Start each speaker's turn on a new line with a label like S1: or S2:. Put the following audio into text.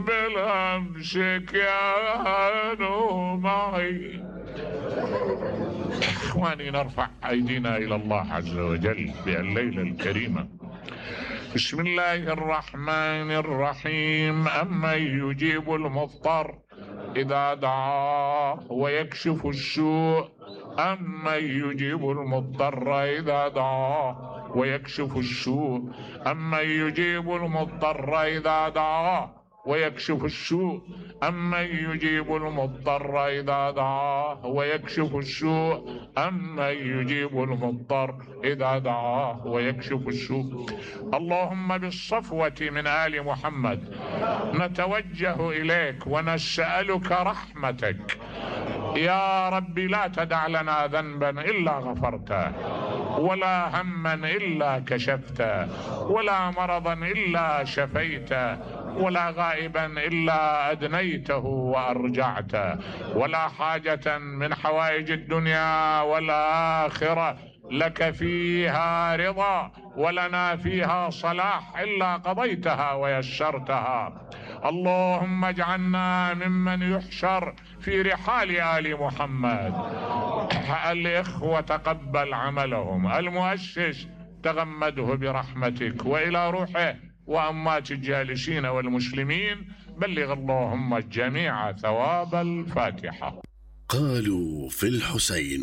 S1: بالامس كانوا معي. اخواني، نرفع ايدينا الى الله عز وجل بالليلة الكريمة. بسم الله الرحمن الرحيم. أمن يجيب المضطر إذا دعاه ويكشف السوء، أمن يجيب المضطر إذا دعاه ويكشف السوء، أمن يجيب المضطر إذا دعاه ويكشف السوء، أمن يجيب المضطر إذا دعاه ويكشف السوء، أمن يجيب المضطر إذا دعاه ويكشف السوء. اللهم بالصفوة من آل محمد نتوجه إليك ونسألك رحمتك يا رب. لا تدع لنا ذنبا إلا غفرته، ولا هما إلا كشفته، ولا مرضا إلا شفيته، ولا غائبا إلا أدنيته وأرجعته، ولا حاجة من حوائج الدنيا والآخرة لك فيها رضا ولنا فيها صلاح إلا قضيتها ويسرتها. اللهم اجعلنا ممن يحشر في رحال آل محمد. الإخوة تقبل عملهم، المؤسس تغمده برحمتك، وإلى روحه وأموات الجالسين والمسلمين بلغ اللهم الجميع ثواب الفاتحة.
S2: قالوا في الحسين